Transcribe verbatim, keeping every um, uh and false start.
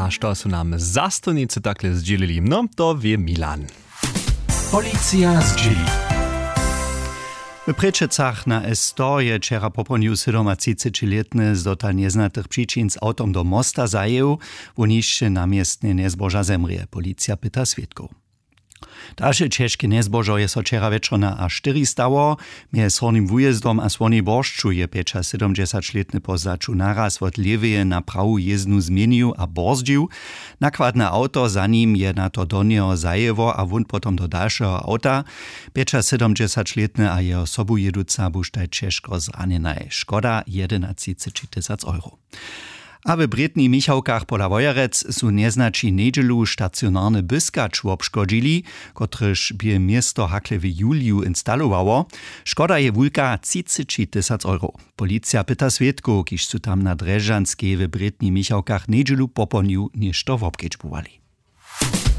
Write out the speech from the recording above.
A što su nam zastupnicy takle zdźělili? No, to wě Milan. Policija zdźěli. W Prěčecach na S sto je wčera popołdnju sydomatřicećilětny z dotal njeznatych přičin z awtom do mosta zajěł. Wón hišće na městnje njezboža zemrě, policija pyta swědkow. Dalše ćežke njezbožo je so wčera wječor na A štyri stało. Mjez Hornim Wujězdom a Słonej Boršću je pjećasydomdźesaćlětny po zdaću naraz wot lěweje na prawu jězdnu změnił a borzdźił. Nakładne awto za nim je na to do njeho zajěło a wón potom do dalšeho awta. Pjećasydomdźesaćlětny a jeho sobujěduca buštaj ćežko zranjenaj. Škoda jedenatřiceći tysac euro. A w Brětnich Michałkach pola Wojerec su njeznaći njedźelu stacionarny byskać wobškodźili, kotryž bě město hakle w juliju instalowało. Škoda je wulka, třiceći tysac euro. Policija pyta swědkow, kiž su tam na Drježdźanskej w Brětnich Michałkach njedźelu popołdnju něšto wobkedźbowali.